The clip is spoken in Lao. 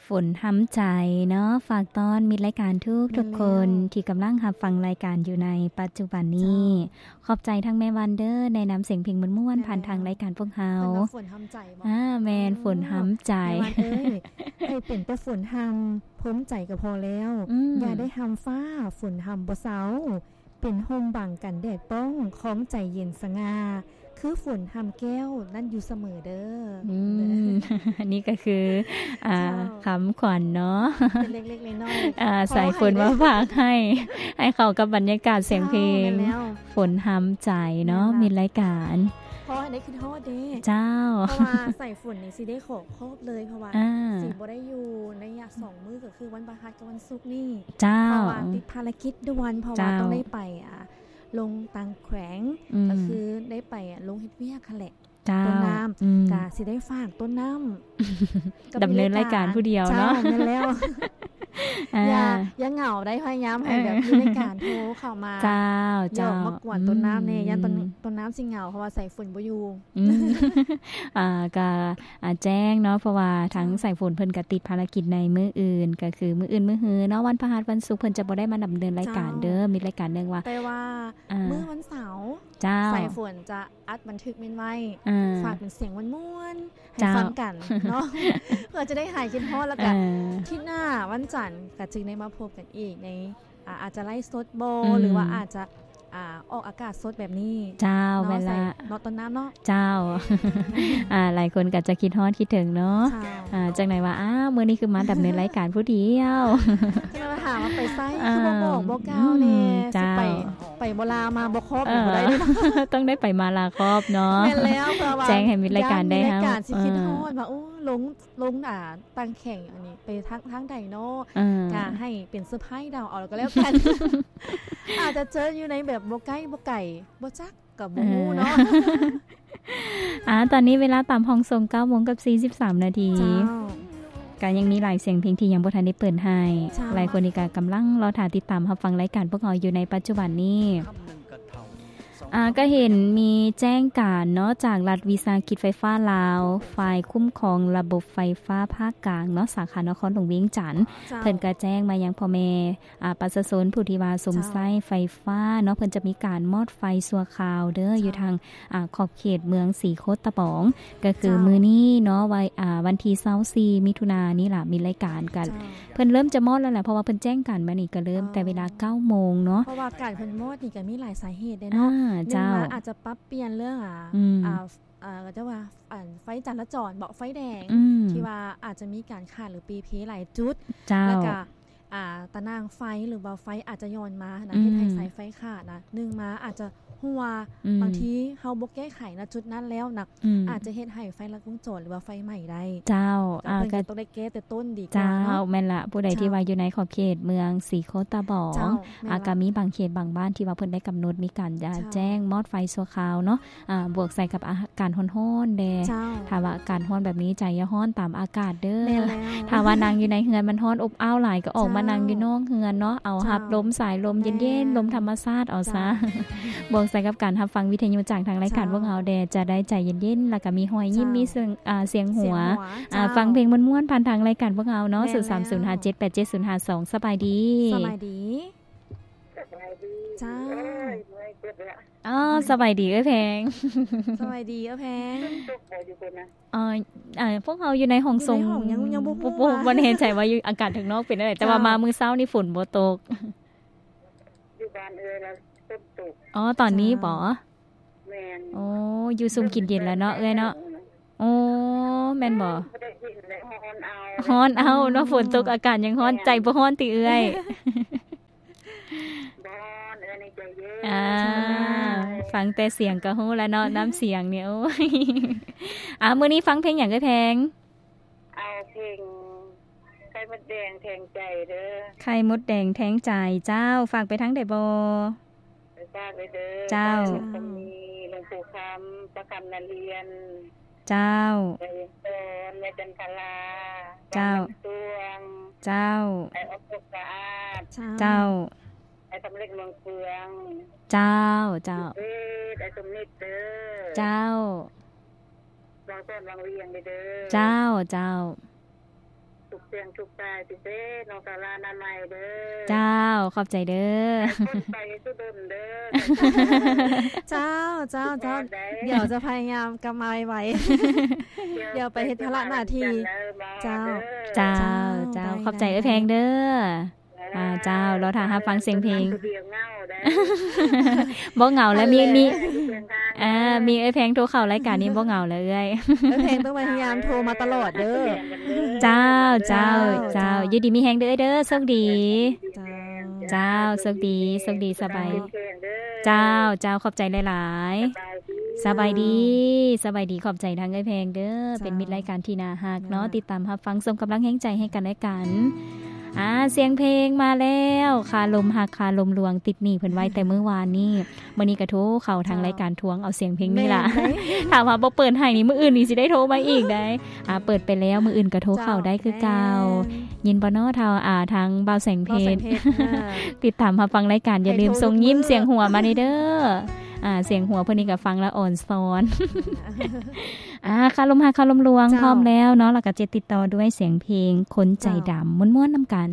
ຝົນຮຳໃຈເນາະ ຝາກຕ້ອນມິດລາຍການທຸກໆຄົນ ແມ່ນແລ້ວ ທີ່ກຳລັງຮັບຟັງລາຍການຢູ່ໃນປັດຈຸບັນນີ້. ເຈົ້າ ຂອບໃຈທັງແມ່ວັນເດີ ແນະນຳສຽງເພງມ່ວນໆ ຜ່ານທາງລາຍການພວກເຮົາ. ເພິ່ນວ່າຝົນຮຳໃຈບໍ? ອ່າ ແມ່ນ ເອີ ຝົນຮຳໃຈ. ແມ່ວັນເອີຍ ໃຫ້ເປັນແຕ່ຝົນຮຳ ພົມໃຈກໍພໍແລ້ວ. ອືມ ຢ່າໄດ້ຮຳຟ້າ ຝົນຮຳບໍ່ເຊົາ. ເປັນຮົ່ມບັງກັນແດດປ້ອງ ຄອງໃຈເຢັນສະຫງ່າ ຄືຝົນຮຳແກ້ວນັ້ນຢູ່ສະເໝີເດີ. ອືມ ນີ້ກໍຄື ອ່າ ເຈົ້າ ຄຳຂວັນເນາະ ເປັນເລັກໆນ້ອຍໆ ອ່າ ສາຍຝົນມາຝາກໃຫ້ ໃຫ້ເຂົ້າກັບບັນຍາກາດສຽງເພງ. ເຈົ້າ ແມ່ນແລ້ວ ຝົນຮຳໃຈເນາະ ແມ່ນລະ ມິດລາຍການ. ຂໍໃຫ້ໄດ້ຄິດຮອດເດ້. ເຈົ້າ ເພາະວ່າສາຍຝົນນີ້ຊິໄດ້ຂໍຄອບເລີຍ ເພາະວ່າ ອ່າ ຊິບໍ່ໄດ້ຢູ່ໃນໄລຍະສອງມື້ ຄືວັນພະຫັດກັບວັນສຸກນີ້. ເຈົ້າ ເພາະວ່າຕິດພາລະກິດດ່ວນ ເພາະວ່າ ເຈົ້າ ຕ້ອງໄດ້ໄປ ອ່າ ລົງຕ່າງແຂວງ ອືມ ກໍຄືໄດ້ໄປ ອ່າ ລົງເຮັດວຽກຫັ້ນແຫຼະ. ເຈົ້າ ຕົ້ນນ້ຳ ອືມ ກະຊິໄດ້ຝາກຕົ້ນນ້ຳ ດຳເນີນລາຍການຜູ້ດຽວເນາະ. ເຈົ້າ ແມ່ນແລ້ວ ອ່າ ຢ່າ ຢ່າເຫງົາໄດ໋ ພະຍາຍາມໃຫ້ແບບ ເອີ ມີລາຍການໂທເຂົ້າມາ. ເຈົ້າ ເຈົ້າ ຢອກມາກວນຕົ້ນນ້ຳແດ່ ອືມ ຢ້ານຕົ້ນ ຕົ້ນນ້ຳຊິເຫງົາ ເພາະວ່າສາຍຝົນບໍ່ຢູ່. ອືມ ອ່າ ກະ ອ່າ ແຈ້ງເນາະ ເພາະວ່າທາງ ເຈົ້າ ສາຍຝົນເພິ່ນກະຕິດພາລະກິດໃນມື້ອື່ນ ກະຄືມື້ອື່ນມື້ຮືເນາະ ວັນພະຫັດ ວັນສຸກ ເພິ່ນຈະບໍ່ໄດ້ມາດຳເນີນລາຍການເດີ. ເຈົ້າ ມີລາຍການໜຶ່ງວ່າ ແຕ່ວ່າ ອ່າ ມື້ວັນເສົາ ເຈົ້າ ສາຍຝົນຈະອັດບັນທຶກແມ່ນໄວ້ ອ່າ ຝາກເປັນສຽງມ່ວນໆ ໃຫ້ ເຈົ້າ ຟັງກັນເນາະ ເພື່ອຈະໄດ້ຫາຍຄິດຮອດ ແລ້ວກະ ເອີ ທິດໜ້າວັນຈັນກະຈຶ່ງໄດ້ມາພົບກັນອີກໃນ ອ່າ ອາດຈະໄລຟ໌ສົດບໍ ອືມ ຫຼືວ່າອາດຈະ ອ່າ ອອກອາກາດສົດແບບນີ້. ເຈົ້າ ເນາະ ແມ່ນລະ ໃສ່ເນາະ ຕົ້ນນ້ຳເນາະ. ເຈົ້າ ອືມ ອ່າ ຫຼາຍຄົນກໍຈະຄິດຮອດຄິດເຖິງເນາະ. ເຈົ້າ ອ່າ ຈັ່ງໃດວ່າ ອ້າວ ມື້ນີ້ຄືມາດຳເນີນລາຍການຜູ້ດຽວ ຈັ່ງໃດວ່າຖາມວ່າໄປໃສ ອ່າ ຄືບໍ່ບອກບໍ່ກ່າວແດ່. ອືມ ເຈົ້າ ຊິໄປ ໄປບໍ່ລາມາບໍ່ຄອບ ເອີ ບໍ່ໄດ້ເດ້ ຕ້ອງໄດ້ໄປມາລາຄອບເນາະ. ແມ່ນແລ້ວ ເພື່ອວ່າ ແຈ້ງໃຫ້ມິດລາຍການໄດ້ ຢ້ານມິດລາຍການ ເຮົາ ຊິຄິດ ເອີ ຮອດວ່າ ໂອ້ ລົງ ລົງ ອ່າ ຕ່າງແຂວງອັນນີ້ໄປທາງ ທາງໃດເນາະ ເອີ ກະໃຫ້ເປັນເຊີໄພຣສ໌ເດົາເອົາກໍແລ້ວກັນ. ອາດຈະເຈີຢູ່ໃນແບບບໍ່ໃກ້ບໍ່ໄກ ບໍ່ຈັກ ກໍບໍ່ຮູ້ເນາະ. ເອີ ອ່າ ຕອນນີ້ເວລາຕາມຫ້ອງສົ່ງ ເກົ້າໂມງກັບສີ່ສິບສາມນາທີ. ເຈົ້າ ກໍຍັງມີຫຼາຍສຽງເພງທີ່ຍັງບໍ່ທັນໄດ້ເປີດໃຫ້. ເຈົ້າ ຫຼາຍຄົນນີ້ກໍກຳລັງລໍຖ້າຕິດຕາມຮັບຟັງລາຍການພວກເຮົາຢູ່ໃນປັດຈຸບັນນີ້. ອ່າ ກໍເຫັນມີແຈ້ງການເນາະ ຈາກລັດວິສາຫະກິດໄຟຟ້າລາວ ຝ່າຍຄຸ້ມຄອງລະບົບໄຟຟ້າພາກກາງເນາະ ສາຂານະຄອນຫຼວງວຽງຈັນ. ເຈົ້າ ເພິ່ນກໍແຈ້ງມາຍັງພໍ່ແມ່ ອ່າ ປະຊາຊົນຜູ້ທີ່ວ່າຊົມ ເຈົ້າ ໃຊ້ໄຟຟ້າເນາະ ເພິ່ນຈະມີການມອດໄຟຊົ່ວຄາວເດີ ເຈົ້າ ຢູ່ທາງ ອ່າ ຂອບເຂດເມືອງສີໂຄດຕະບອງ ກໍຄື ເຈົ້າ ມື້ນີ້ເນາະ ວັນ ອ່າ ວັນທີຊາວສີ່ມິຖຸນານີ້ລະ ມີລາຍການກັນ. ເຈົ້າ ເພິ່ນເລີ່ມຈະມອດແລ້ວແຫຼະ ເພາະວ່າເພິ່ນແຈ້ງການມານີ້ ກໍເລີ່ມ ເອີ ແຕ່ເວລາເກົ້າໂມງເນາະ. ເພາະວ່າການເພິ່ນມອດນີ້ກໍມີຫຼາຍສາເຫດເດ້ເນາະ. ອ່າ ໜຶ່ງ ເຈົ້າ ວ່າອາດຈະປັບປ່ຽນເລື່ອງ ອ່າ ອືມ ອ່າ ເອີ ເຂົາເຈົ້າວ່າ ອັນ ໄຟຈະລາຈອນເບາະ ໄຟແດງ ອືມ ທີ່ວ່າອາດຈະມີການຂາດ ຫຼື ເປ່ເພຫຼາຍຈຸດ. ເຈົ້າ ແລ້ວກະ ອ່າ ຕາໜ່າງໄຟ ຫຼືວ່າໄຟອາດຈະຢ່ອນມານະ ອືມ ເຮັດໃຫ້ສາຍໄຟຂາດນະ. ໜຶ່ງມາອາດຈະຮົ່ວ ອືມ ບາງທີເຮົາບໍ່ແກ້ໄຂນະຈຸດນັ້ນແລ້ວນະ ອືມ ອາດຈະເຮັດໃຫ້ໄຟລັດວົງຈອນ ຫຼືວ່າໄຟໄໝ້ໄດ້. ເຈົ້າ ເຈົ້າ ອ່າ ເພິ່ນກໍ ກໍຕ້ອງໄດ້ແກ້ແຕ່ຕົ້ນດີກວ່າເນາະ. ເຈົ້າ ແມ່ນລະ ຜູ້ໃດທີ່ວ່າຢູ່ໃນຂອບເຂດເມືອງສີໂຄດຕະບອງ ເຈົ້າ ແມ່ນລະ ອ່າ ກໍມີບາງເຂດບາງບ້ານທີ່ວ່າເພິ່ນໄດ້ກຳນົດມີການ ເຈົ້າ ແຈ້ງມອດໄຟຊົ່ວຄາວເນາະ. ອ່າ ບວກໃສ່ກັບອາກາດຮ້ອນໆແດ່. ເຈົ້າ ຖ້າວ່າອາກາດຮ້ອນແບບນີ້ ໃຈຢ່າຮ້ອນຕາມອາກາດເດີ. ແມ່ນແລ້ວ ຖ້າວ່ານັ່ງຢູ່ໃນເຮືອນມັນຮ້ອນອົບອ້າວຫຼາຍ ກໍອອກມາ ເຈົ້າ ນັ່ງຢູ່ນອກເຮືອນເນາະ ເອົາ ເຈົ້າ ຮັບລົມສາຍລົມເຢັນໆ ແມ່ນ ລົມທຳມະຊາດເອົາຊະ. ເຈົ້າ ບວກໃສ່ກັບການຮັບຟັງວິທະຍຸຈາກທາງລາຍການ ເຈົ້າ ພວກເຮົາແດ່ ຈະໄດ້ໃຈເຢັນໆ ແລ້ວກໍມີຮອຍຍິ້ມ ເຈົ້າ ມີສຽງ ອ່າ ສຽງຫົວ ສຽງຫົວ ອ່າ ເຈົ້າ ຟັງເພງມ່ວນໆ ຜ່ານທາງລາຍການພວກເຮົາເນາະ. ແມ່ນແລ້ວ ສູນສາມສູນຫ້າເຈັດແປດເຈັດສູນຫ້າສອງ. ສະບາຍດີ ສະບາຍດີ. ສະບາຍດີ ເຈົ້າ ເອີຍ ເມື່ອຍເຈັບແລ້ວ. ອໍ ສະບາຍດີເອື້ອຍແພງ. ສະບາຍດີເອື້ອຍແພງ. ຝົນຕົກບໍ່ຢູ່ພຸ້ນນະ? ເອີ ເອີ ພວກເຮົາຢູ່ໃນຫ້ອງສົ່ງ ຢູ່ໃນຫ້ອງຍັງ ຍັງບໍ່ຮູ້ ບໍ່ ບໍ່ ວ່າ ບໍ່ແນ່ໃຈວ່າຢູ່ອາກາດຂ້າງນອກເປັນຈັ່ງໃດ ແຕ່ວ່າ ເຈົ້າ ມາມື້ເຊົ້ານີ້ຝົນບໍ່ຕົກ. ຢູ່ບ້ານເອື້ອຍລະຝົນຕົກ. ອໍ ຕອນນີ້ບໍ? ເຈົ້າ ແມ່ນ. ໂອ້ ຢູ່ຊຸ່ມກິນເຢັນແລ້ວເນາະເອື້ອຍເນາະ. ໂອ້ ແມ່ນບໍ? ບໍ່ໄດ້ກິນແລ້ວ ຮ້ອນເອົາ ຮ້ອນເອົາເນາະ. ຝົນຕົກອາກາດຍັງຮ້ອນ ແມ່ນ ໃຈບໍ່ຮ້ອນຕິເອື້ອຍ? ບໍ່ຮ້ອນ ເອື້ອຍໃນໃຈເຢັນ. ອ່າ ເຈົ້າ ຟັງແຕ່ສຽງກໍຮູ້ແລ້ວເນາະ ນ້ຳສຽງນີ້. ໂອ້ຍ ອ່າ ມື້ນີ້ຟັງເພງຫຍັງເອື້ອຍແພງ? ເອົາເພງໄຂ່ມົດແດງແທງໃຈເດີ. ໄຂ່ມົດແດງແທງໃຈ. ເຈົ້າ ຝາກໄປທາງໃດບໍ? ໄປຝາກເດີ. ເຈົ້າ ເຈົ້າ ແມ່ນ ກໍມີຫຼວງປູ່ຄຳ ປ້າຄຳນາລຽນ. ເຈົ້າ ແມ່ວຽງສອນ ແມ່ຈັນທະລາ. ເຈົ້າ ບ້ານນ້ຳຕວງ. ເຈົ້າ ອ້າຍອອກສຸກສະອາດ. ເຈົ້າ ເຈົ້າ ອ້າຍສຳເລັດເມືອງເຟືອງ. ເຈົ້າ ເຈົ້າ ເດດ ອ້າຍສົມນິດເດີ. ເຈົ້າ ບ່າວສອນວັງວຽງເດີ. ເຈົ້າ ເຈົ້າ ສຸກ ສຽງທຸກສາຍພິເສດ ນ້ອງສາລານາໃໝ່ເດີ. ເຈົ້າ ຂອບໃຈເດີ. ໃຫ້ຄົນໄປສຸດົນເດີ. ເຈົ້າ ເຈົ້າ ເຈົ້າ ໄດ້ ດຽວຈະພະຍາຍາມກັບມາໄວໆ. ດຽວໄປເຮັດພາລະໜ້າທີ່. ເຈົ້າ ເຈົ້າ ເຈົ້າ ເຈົ້າ ໄດ້ ຂອບໃຈເອື້ອຍແພງເດີ. ອ່າ ເຈົ້າ ລໍຖ້າຮັບຟັງສຽງເພງ. ບໍ່ເຫງົາແລ້ວ ມີ ມີ ເອີ ມີເອື້ອຍແພງໂທເຂົ້າລາຍການນີ້ບໍ່ເຫງົາແລ້ວເອື້ອຍ. ເອື້ອຍແພງຕ້ອງພະຍາຍາມໂທມາຕະຫຼອດເດີ. ເຈົ້າ ເຈົ້າ ເຈົ້າ ເຈົ້າ ຢູ່ດີມີແຮງເດີເອື້ອຍເດີ ໂຊກດີ. ເຈົ້າ ເຈົ້າ ໂຊກດີ ໂຊກດີ ສະບາຍ. ເຈົ້າ ເຈົ້າ ຂອບໃຈຫຼາຍໆ. ສະບາຍດີ ສະບາຍດີ ຂອບໃຈທາງເອື້ອຍແພງເດີ. ເຈົ້າ ເປັນມິດລາຍການທີ່ໜ້າຮັກເນາະ ເຈົ້າ ຕິດຕາມຮັບຟັງ ສົ່ງກຳລັງແຮງໃຈໃຫ້ກັນແລະກັນ. ອ່າ ສຽງເພງມາແລ້ວ ຄາລົມຮັກຄາລົມລວງ ຕິດໜີ້ເພິ່ນໄວ້ແຕ່ມື້ວານນີ້. ມື້ນີ້ກໍໂທເຂົ້າທາງ ເຈົ້າ ລາຍການທວງເອົາສຽງເພງນີ້ລະ. ແມ່ນເດ້ ຖ້າວ່າບໍ່ເປີດໃຫ້ນີ້ ມື້ອື່ນນີ້ຊິໄດ້ໂທມາອີກໄດ໋. ອ່າ ເຈົ້າ ເປີດໄປແລ້ວ ມື້ອື່ນກໍໂທເຂົ້າໄດ້ຄືເກົ່າ. ເຈົ້າ ແມ່ນ ຍິນບໍ່ເນາະ ເທົ່າ ອ່າ ທາງບ່າວແສງເພັດ ບ່າວແສງເພັດ ອ່າ ຕິດຕາມຮັບຟັງລາຍການ ຢ່າລືມສົ່ງຍິ້ມ ໃຫ້ໂທທຸກມື້ ສຽງຫົວມາແດ່ເດີ. ອ່າ ສຽງຫົວເພິ່ນນີ້ກໍຟັງແລ້ວອ່ອນຊ້ອນ. ອ່າ ຄາລົມຮັກຄາລົມລວງ ເຈົ້າ ພ້ອມແລ້ວເນາະ ແລ້ວກໍຈະຕິດຕໍ່ດ້ວຍສຽງເພງຄົນໃຈດຳ ເຈົ້າ ມ່ວນໆນຳກັນ.